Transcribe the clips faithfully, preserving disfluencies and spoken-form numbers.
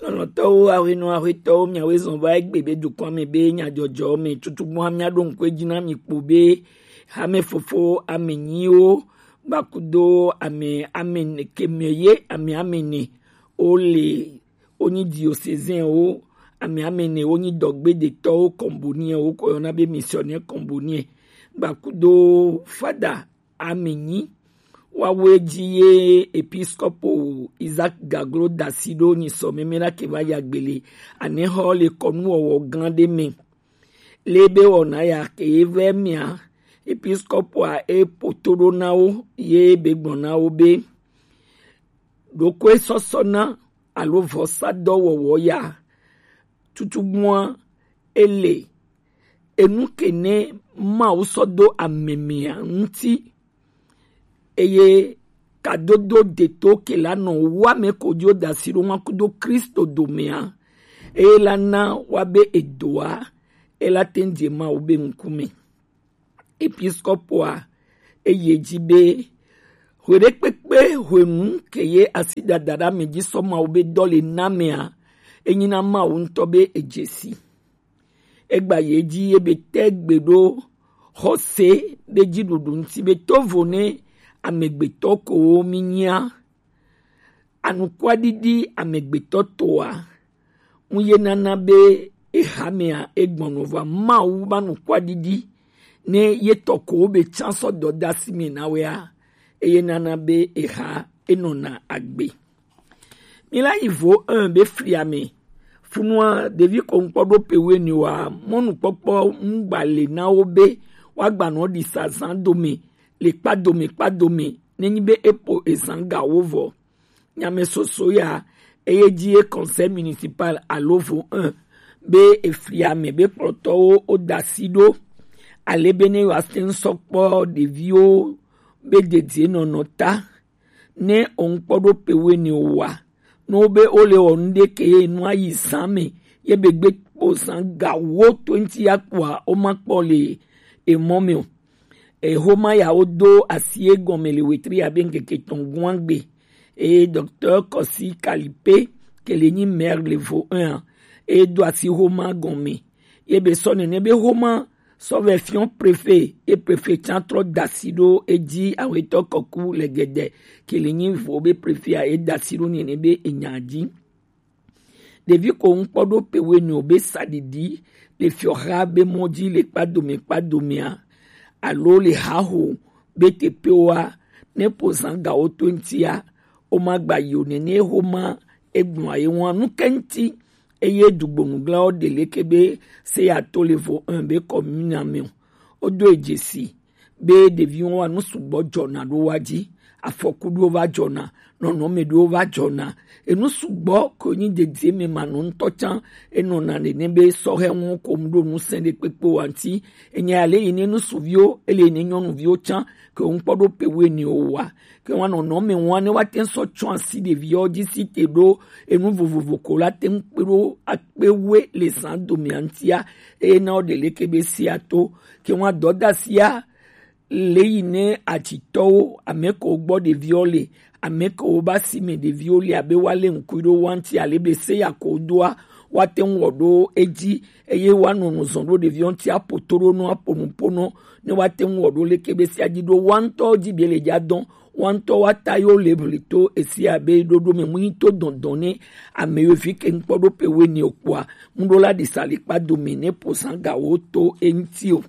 Lɔlɔ̃tɔwo, ahwenɔ, ahwetɔwo, miawoe zɔn va egbe be dukɔa me be nyadzɔdzɔ me tutugbɔa miaɖo ŋku edzi na mi kpo be hamefofo ame nyiwo gbakudo ame ame ne kemɛ ye ame ame ne wole wonyi diocésainwo, ame ame ne wonyi dɔgbedetɔwo, kɔmboniɛwo ko yɔna be missionnaire kɔmboniɛ gbakudo fada ame nyi. Wawoe ji ye episkopo Isaac Gaglo dasi ɖo nyisɔ meme la ke va ya gbele anexɔ le kɔnuwɔwɔ gã ɖe me. Le be wɔna ya ke ye vɛ mia, episkopoa e poto ɖo na wo ye be gblɔ na wo be ɖokoe sɔsɔ na alo vɔsadɔwɔwɔ ya tutugbɔa ele enu ke ne Mawu sɔ do ame mia ŋuti, eye kadodo deto ke la nɔ wame ko dio dasi ɖo ŋua kudo Kristo domea, eye la na wa be edoa ela teŋ dze Mawu be ŋkume. Episkopoa eye dzi be hweɖekpekpe hwenu ke ye asi dada ɖe ame dzi sɔ Mawu be dɔ le na mea, enyi na Mawu ŋutɔ be edze si. Egba ye dzi ye be te gbe ɖo xɔse be dziɖuɖu ŋuti be tovo ne amegbetɔ kowo mi nyia. Anukwaɖiɖi amegbetɔ toa ŋu ye nana be ehamea egbɔnɔ va Mawu ba nukwaɖiɖi ne ye tɔ kowo be tsã sɔ dɔ da si me na wea, eye nana be eha enɔna agbe. Mi la yi vo un be fliame. Funua ɖevi ko ŋkpɔ ɖo pe wene wa mɔnukpɔkpɔ ŋgba le na wo be woagba nɔ ɖi sazan dome le kpa dome kpa dome nenyi be epo ezan ga wo vɔ. Nyame soso ya eye dzi ye conseil municipal alo vo un be efliame be kplɔtɔwo wo da si ɖo ale be ne yewoate ŋu sɔ kpɔ ɖeviwo be dedie nɔnɔ ta. Ne òun kpɔ ɖo pe wene o wa, ne wobe wole wɔ nu ɖe ke ye nua yi zã me ye be gbe kpo zã ga wo to ŋuti ya kpoa, woma kpɔ le emɔ me o. Exoma ya wodo asi egɔme le wetri abe ŋkeke etɔ̃ guangbe. Eye Docteur Kɔsi Kalipe ke le nyi maire le vo un a, eye do asi xoma gɔme. Ye be sɔ nene be xoma sɔ vɛ fiɔ préfet, ye préfet tsã trɔ da asi ɖo edzi awetɔ kɔku le gɛdɛ ke le nyi vo be préfet a ye da asi ɖo nene be enya dzi. Ɖevi ko ŋkpɔ ɖo pe wenu be saɖiɖi le fiɔxa be mɔ dzi le kpadomɛ kpadomɛa alo le haho be teƒewoa, ne ƒo zã gawo to ŋutia, womagba yi o. Nene xoma egblɔa ye ŋua nu ke ŋuti, eye dugbonuglawo ɖe leke be se ya to le vo un be kɔmina me o. Wodo e dzesi be ɖeviwo wa nu sugbɔ dzɔna ɖo wa dzi, afɔku ɖewo va dzɔna, nɔnɔme ɖewo va dzɔna. Enu sugbɔ ko nyi dedie me manɔ ŋutɔ tsã enɔna nene be sɔhɛ ŋu ko mu ɖo ŋusẽ ɖe kpekpe wa ŋuti. Enya ya le yi ne ŋutsuviwo ele yi ne nyɔnuviwo tsã ke ŋkpɔ ɖo pe wene o wa ke wa nɔnɔme ŋua ne wa te sɔ tsɔ asi ɖeviwo dzi si te ɖo enu vovovo ko la te ŋu kpe ɖo akpe we le zã domea ŋutia, eye na wo ɖe leke be sia to ke wa dɔdasia le yi ne atsitɔwo, ame ko gbɔ ɖeviwo le, ame ko ba si me ɖeviwo le abe wa le ŋkui ɖo wa ŋuti ale be se ya ko doa, wa te ŋu wɔ ɖo edzi, eye wa nɔ nu zɔn ɖo ɖeviwo ŋuti apo to ɖo nɔ apo nu po nɔ, ne wa te ŋu wɔ ɖo leke be sia dzi ɖo wa ŋutɔ dzi be le dza dɔn, wa ŋutɔ wa ta yo le bli to esi abe ɖoɖo me mu yi to dɔndɔn ne ame yo fi ke ŋkpɔ ɖo pe wene o kpoa, ŋu ɖo la ɖi sa le kpa dome ne po zã gawo to eŋuti o.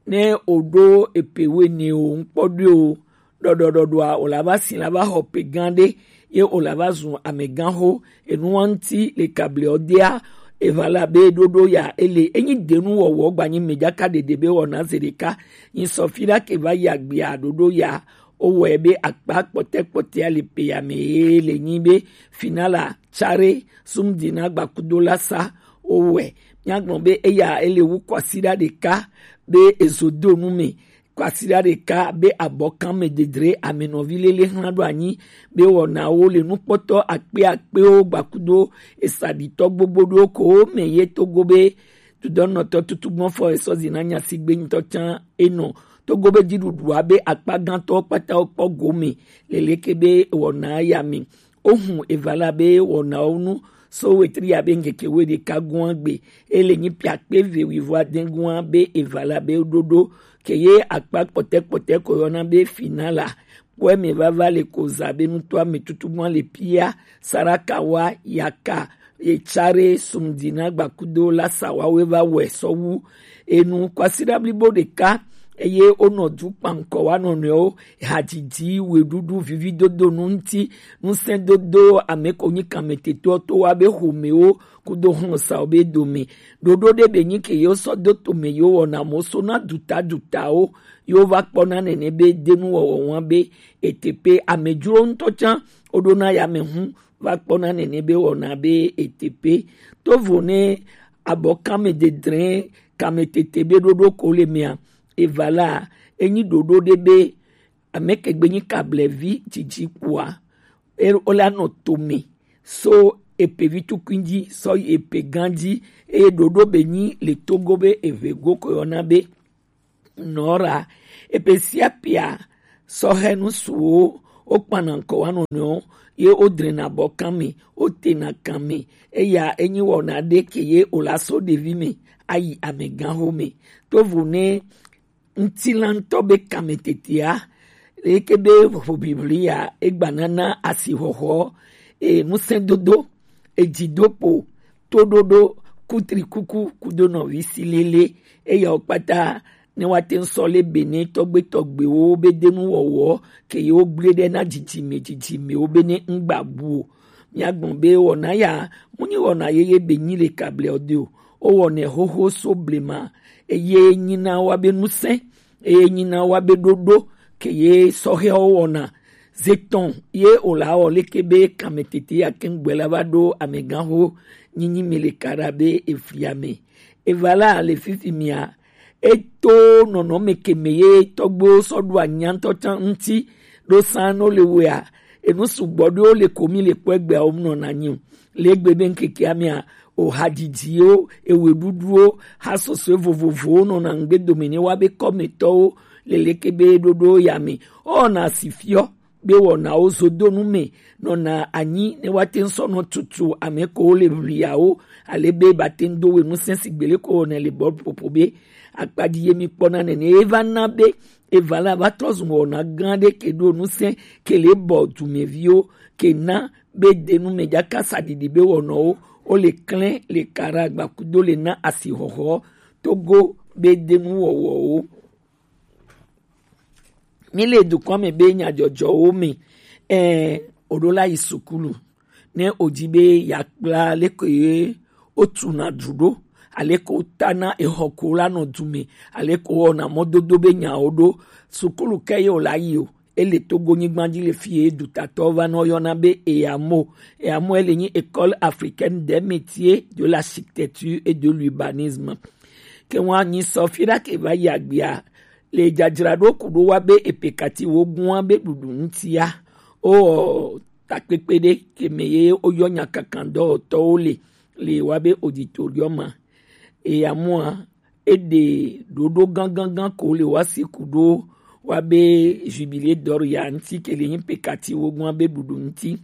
Ne o ɖo epe wene o ŋkpɔ ɖo o, ɖɔɖɔɖɔɖɔa o la va si la va xɔ pe gã ɖe, ye o la va zu amegã xo. Enu wa ŋuti le kable ɔ dea, eva la be ɖoɖo ya ele enyi denu wɔwɔ gba nyi me dzaka ɖeɖe be wɔna ze ɖeka. Nyi sɔ fi ɖa ke va yi agbea ɖoɖo ya, o wɔe be akpa kpɔtɛ kpɔtɛa le pe ya me ye le nyi be finala tsare sum dina gbakudo la sa o wɔe. Míagblɔ be eya ele wu kwasiɖa ɖeka be ezo do nu me. Kwasiɖa ɖeka be abɔkan me dedre amenɔvi lele xlã ɖo anyi be wɔnawo le nukpɔtɔ akpe akpewo gbakudo esaɖitɔ gbogbo ɖewo ko me ye Togo be dudɔnɔtɔ tutugbɔfɔ esɔ zi na nyasigbe ŋutɔ tsã enɔ Togo be dziɖuɖua be akpa gãtɔwo kpata wo kpɔ gome le leke be wɔna ya me. ohun evala be wɔnawo nu so wetri ya be ŋkeke we ɖeka gua gbe. Ele nyi piakpe ve wivo adẽ gua be evala be ɖoɖo ke ye akpa kpɔtɛ kpɔtɛ ko yɔna be finala kpɔɛ me vava le ko za be nuto ame tutu gua le pia sarakawa yaka etsare sumdina gbakudo la sawa we va wɛ sɔwu enu kwasida blibo ɖeka. Eye wonɔ du kpankɔ wa nɔnɔewo hadzidzi weɖuɖu vividodo nu ŋuti ŋusẽdodo ame ko nyi kametetoɔ to wa be xomewo kudo hlɔsawo be dome. Ɖoɖo ɖe be nyi ke yewo sɔ do tome yewo wɔna mo so na duta dutawo yewo va kpɔna nene be denuwɔwɔ wa be etepe amedzro ŋutɔ tsã woɖona yame hu va kpɔna nene be wɔna be etepe. Tovo ne abɔ kame dedrẽ kame tete be ɖoɖo ko le mea eva la enyi ɖoɖo ɖe be ame ke gbe nyi kablevi dzidzi kpoa e- wo la nɔ tome so epe vi tukui dzi sɔ yi epe gã dzi eye ɖoɖo be nyi le togo be eve go ko yɔna be nɔra epe sia pea sɔhɛ nu suwo wo kpana ŋkɔ wa nɔnɔewo ye wo drena bɔ kan me wo tena kan me eya enyi wɔna ɖe ke ye o la so ɖevi me ayi amegãxo me. Tovo ne ŋutilãtɔ be kame tetea leke be ʋuʋiʋli ya egbanana asixɔxɔ e ŋusẽdodo edzidopo toɖoɖo kutrikuku kudo nɔvi si lele eyawo kpata ne woate ŋu sɔ le bene tɔgbe tɔgbewo be denuwɔwɔ ke yewo gblẽ ɖe na dzidzime dzidzimewo be ne ŋgba bu o. Míagblɔ be wɔna ya mu nyi wɔna yeye be nyi le kable ɔ de o. Wowɔnɛ xoxo so blema eye nyina wa be ŋusẽ eye nyina wa be ɖoɖo ke ye sɔhɛwo wɔna. Zetɔn ye o la wɔ leke be kame tete ya keŋ gbɛ la va ɖo amegãxo nyinyi me le kaɖa be efli ame. Eva la le fifi mia eto nɔnɔme ke me ye tɔgbewo sɔ ɖo anya ŋutɔ tsã ŋuti ɖo san no le wea enu sugbɔ ɖewo le ko mi le kpɔ egbeawo mu nɔna nyi o. Le egbe be ŋkekea mea o hadzidziwo eweɖuɖuwo hasɔsɔe vovovowo nɔna ŋgbe dome ne wa be kɔmetɔwo le leke be ɖoɖo ya me ɔna si fiɔ be wɔnawo zodonu me nɔna anyi ne woate ŋu sɔ nɔ tutu ame ko le ʋliawo ale be bate ŋu do we ŋusẽ si gbele ko wɔnɛ le bɔl ƒoƒo be akpadzi ye mi kpɔna nene ye va na be eva la va trɔ zu wɔna gã ɖe ke ɖo ŋusẽ ke le bɔ dumeviwo ke na be denu me dzaka saɖiɖi be wɔnɔwo wo le klẽ le kara gbakudo le na asixɔxɔ togo be denu wɔwɔwo. Mi le dukɔ me be nyadzɔdzɔwo me ɛ o ɖo la yi sukulu ne o di be yakpla leke ye o tuna du ɖo aleke o tana exɔ ko la nɔ du me aleke o wɔna mɔdodo be nyawo ɖo sukulu ke ye o la yi o. Ele togo nyigba dzi le fi ye dutatɔ va nɔ yɔna be eyamo eyamo ele nyi école africaine des métiers de l'architecture et de l'urbanisme. Ke ŋua nyi sɔ fi ɖa ke va yi agbia le dzadzraɖo ku ɖo wa be epekati wo gua be ɖuɖu ŋutia o takpekpe ɖe ke me ye o yɔ nyakakan dɔwɔtɔwo le le wa be auditorium ma. Eya mua e ɖe ɖoɖo gangangan ko le wa si ku ɖo wa be jubilé d'or ya ŋuti ke le nyi pekati wo gua be ɖuɖu ŋuti.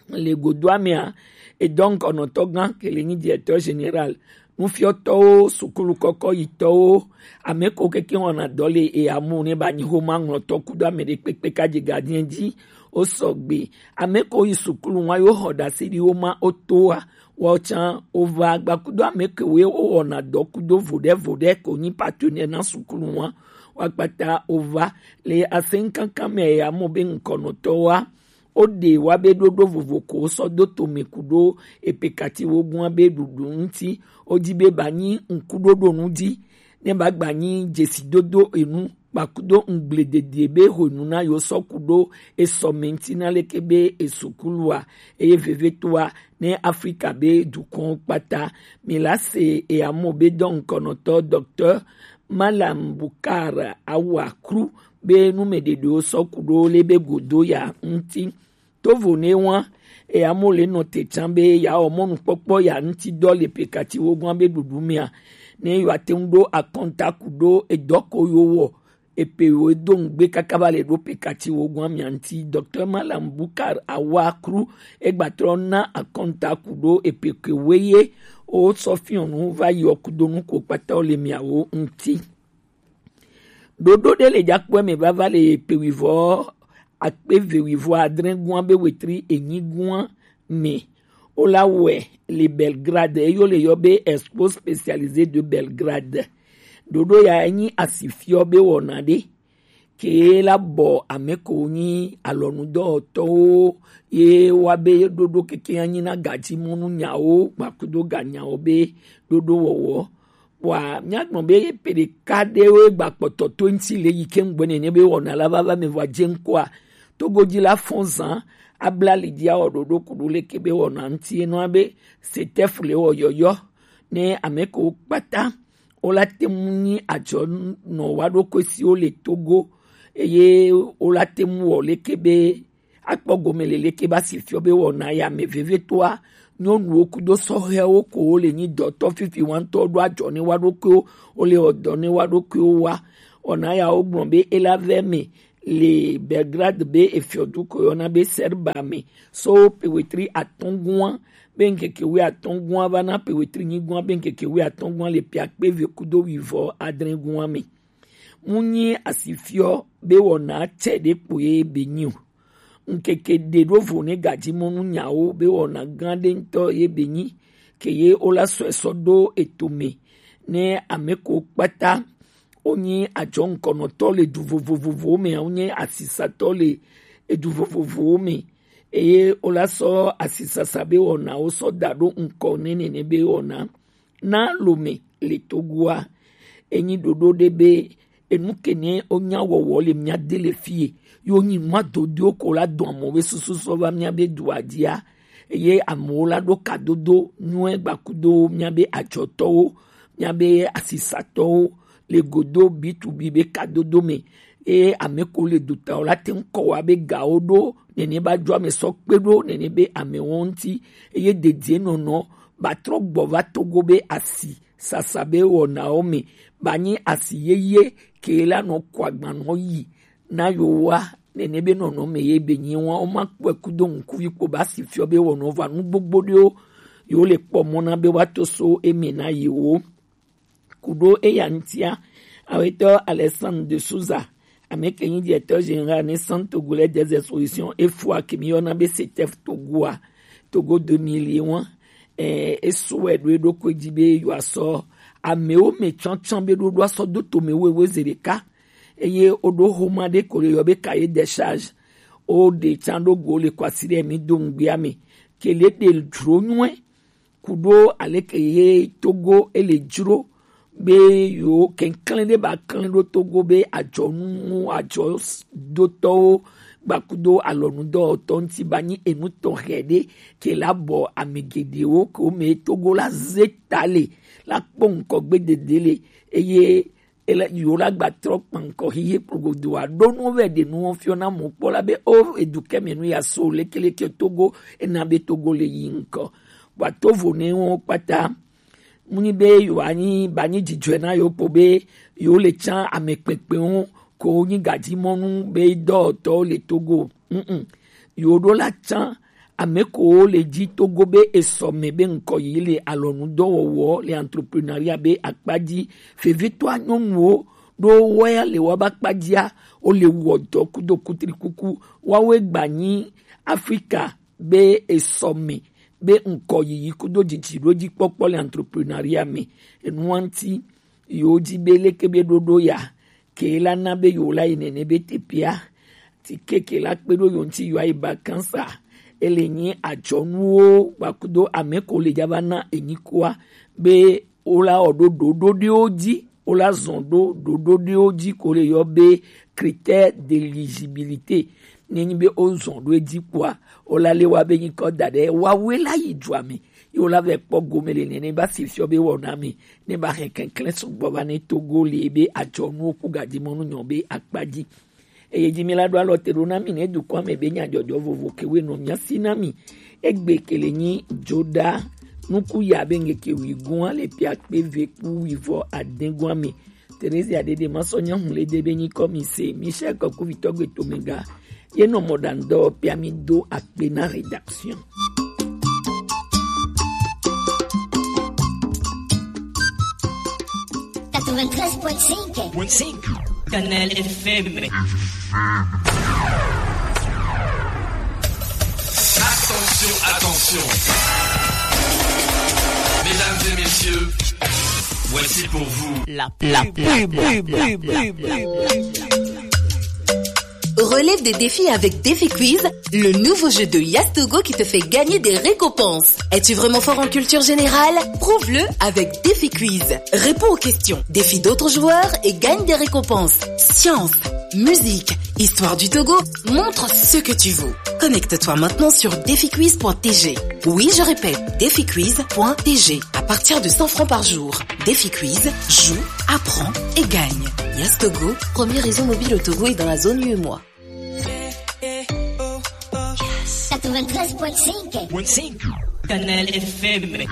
Le godoa mea edɔ ŋkɔnɔtɔ gã ke le nyi directeur général nufiɔtɔwo sukulu kɔkɔ yitɔwo ame ko keke wɔna dɔ le eyamu ne ba nyi homa ŋlɔtɔ kudo ame ɖe kpekpe ka dze gardien dzi wo sɔgbe ame ko yi sukulu wa yo xɔ ɖase ɖi wo ma wo toa wa tsã wo va gba kudo ame ke wo wɔna dɔ kudo vo ɖe vo ɖe ko nyi partenaire na sukulu wa wa kpata wo va le asɛnkankan me eyamu be ŋkɔnɔtɔ wa. Wo ɖe wa be ɖoɖo vovo ko wo sɔ do tome ku ɖo epekati wo gua be ɖuɖu ŋuti wo di be ba nyi ŋkuɖoɖo nu dzi ne ba gba nyi dzesidodo enu kpakudo ŋgbledede be hwenu na yo sɔ ku ɖo esɔ me ŋuti na leke be esukulua eye vevetoa ne Afrika be dukɔn kpata mi la se eyamo be dɔ ŋkɔnɔtɔ docteur Malam Bukar Awa Kru be numeɖeɖewo sɔ ku ɖo le be godo ya ŋuti. Tovo ne wa eya mo le nɔ te tsã be ya wɔ mɔnukpɔkpɔ ya ŋuti dɔ le pekati wo gɔn be ɖuɖu mea ne yewoate ŋu ɖo akɔnta ku ɖo edɔ ko yewo wɔ epe wo do ŋgbe kaka va le ɖo pe kati wo gɔn amia ŋuti. Docteur Malam Bukar Awakru egbatrɔ na akɔnta ku ɖo epe ke we ye o sɔ fiɔnu va yi ɔkudonu ko kpata o le miawo ŋuti. Ɖoɖo ɖe le jakpɔe me vava le epe wivɔ akpe ve wivɔ adre gɔn be wetri enyi gɔn me. Wo la wɛ le Belgrade, eyo le yɔ be Expo Spécialisé de Belgrade. Ɖoɖo ya enyi asifiɔ be wɔna ɖe ke la bɔ ame ko nyi alɔnudɔwɔtɔwo ye wa be ɖoɖo keke anyi na gadzimɔnu nyawo gbakudo ganyawo be ɖoɖo wɔwɔ. Wa míagblɔ be pe ɖeka ɖewo gba kpɔtɔ to ŋuti le yi ke ŋgbe nene be wɔna la vava me vɔ adze ŋkɔa, Togo dzi la fɔn zan abla li dzi awɔ ɖoɖo kuɖo leke be wɔna ŋuti enɔa be setɛfu le wɔ yɔyɔ ne ame ko kpata wo la te ŋu nyi adzɔ nɔ wa ɖokui siwo le Togo eye wo la te ŋu wɔ leke be akpɔ gome le leke ba si fiɔ be wɔna ya me vevetoa nyɔnuwo kudo sɔhɛwo ko wo le nyi dɔtɔ fifi wantɔ ɖo adzɔ ne wa ɖokuiwo wo le wɔ dɔ ne wa ɖokuiwo wa. Wɔna ya wo gblɔ be ela vɛ me le Belgrade be efiɔdu ko yɔna be Serba me so pewetri atɔngua be ŋkeke wi atɔngua va na pewetri nyigua be ŋkeke wi atɔngua le pia kpe ve kudo wivɔ adrengua me. Mu nyi asifiɔ be wɔna tsɛ ɖe kpo ye be nyi o. Ŋkeke ɖe ɖo vo ne gadzimɔnu nyawo be wɔna gã ɖe ŋutɔ ye be nyi ke ye wo la sɔe sɔ ɖo eto me ne ame ko kpata wonyi adzɔ ŋkɔnɔtɔ le du vovovowo me, wonyi asisatɔ le edu vovovowo me eye wo la sɔ asisasa be wɔna wo sɔ da ɖo ŋkɔ ne nene be wɔna na lome le Togoa. Enyi ɖoɖo ɖe be enu ke ne wonya wɔwɔ le mía de le fie yo nyi nua dodoewo ko la dɔn amewo be susu sɔ va mía be dua dzia eye amewo la ɖo kadodo nyuie gbakudo mía be adzɔtɔwo, mía be asisatɔwo le godo bitubi be kadodo me eye ame ko le dutawo la te ŋu kɔ wa be gawo ɖo nene ba dzo ame sɔ kpe ɖo nene be amewo ŋuti eye dedie nɔnɔ ba trɔ gbɔ va Togo be asi sasa be wɔnawo me ba nyi asi yeye ke la nɔ kɔ agbanɔ yi na yo wa nene be nɔnɔ me ye be nyi wa wo ma kpɔe kudo ŋkuvi kpo ba si fiɔ be wɔnɔ va nu gbogbo ɖewo yo le kpɔ mɔ na be wa to so eme na yewo. Kuɖo eya ŋutia, awetɔ Alexandre de Souza, ame ke nyi directeur général ne Centre Togolais des Expositions, efua ke mi yɔna be CETEF Togoa, Togo deux mille ye wa, eh, esɔe ɖo eɖokui dzi be yewoasɔ amewo me tsantsan be ɖoɖo asɔ do tome wewe ze ɖeka. Eye woɖo xoma ɖe ko le yɔ be cahier des charges. Woɖe tsan ɖo go le kɔ asi ɖe mi do ŋgbea me. Ke le ɖe dzro nyuie kuɖo aleke ye Togo ele dzro be yo keklẽ ɖe ba klẽ ɖo Togo be adzɔnu adzɔdotɔwo gbakudo alɔnudɔwɔtɔ ŋuti ba nyi enu tɔxɛ ɖe ke la bɔ ame geɖewo ke wo me Togo la ze ta le la kpɔ ŋkɔgbe dede le eye ele yi wo la gba trɔ kpankɔ xixe kplogodo a ɖo nuwo vɛ ɖe nuwo fiɔ na mɔ kpɔ la be o edu kɛ mɛ nu ya so lekeleke Togo ena be Togo le yi ŋkɔ. Bua to vo ne wo kpata mu nyi be yo anyi ba nyi dzidzɔe na yo kpo be yo le tsan ame kpekpewo ko nyi gadzimɔnu be dɔwɔtɔwo le Togo. Mm-mm. Yo ɖo la tsan ame ko le dzi Togo be esɔ me be ŋkɔ yi le alɔnudɔwɔwɔ le entrepreneuria be akpa dzi. Vevitɔa nyɔnuwo ɖo wɔya le wa ba kpa dzia wo le wɔ dɔ kudo kutrikuku wawe gba nyi Afrika be esɔ me be ŋkɔ yiyi kudo dzidzi ɖo dzi kpɔkpɔ le entrepreneuria me. Enua ŋuti yo dzi be leke be ɖoɖo ya ke la na be yo la yi nene be tepea ti keke la kpe ɖo yo ŋuti yo ayi ba kansa ele nyi adzɔnuwo gbakudo ame ko le dza va na enyi koa be wo la wɔ ɖo ɖoɖo ɖewo dzi wo la zɔn ɖo ɖoɖo ɖewo dzi ko le yɔ be critère d'éligibilité. Ne nyi be wo zɔn ɖo edzi kpoa wo la le wa be nyikɔ da ɖe wawe la yi dua me ye wo la vɛ kpɔ gome le nene ba si fiɔ be wɔna me ne ba hɛn kɛnklɛn sugbɔ va ne Togo le be adzɔnuwo ku gadzimɔnu nyɔ be akpa dzi. Eye dzi mi la ɖo alɔ te ɖo na mi ne dukɔa me be nyadzɔdzɔ vovo ke we nɔ mia si na mi. Egbe ke le nyi dzoɖa nuku ya be ŋkeke wi gɔn le pia kpe ve ku wi vɔ adɛn gɔn me. Theresia Dede, ma sɔ nyɔnu le de be nyikɔ mi se. Michel Kɔkuvitɔ gbe to mega. Ye nɔ mɔ ɖa ŋdɔ pia mi do akpe na rédaction. Quatre-vingt-treize point cinq. Canal F M. Attention, attention. Mesdames et messieurs, voici pour vous la, la pub. Relève des défis avec Défi Quiz, le nouveau jeu de Yastogo qui te fait gagner des récompenses. Es-tu vraiment fort en culture générale ? Prouve-le avec Défi Quiz. Réponds aux questions, défie d'autres joueurs et gagne des récompenses. Science, musique, histoire du Togo, montre ce que tu vaux. Connecte-toi maintenant sur défi quiz point T G. Oui, je répète, défi quiz point T G. À partir de cent francs par jour. Défi Quiz, joue, apprends et gagne. Yastogo, premier réseau mobile au Togo et dans la zone U E M O A. Quatre-vingt-treize point cinq. Canal F M.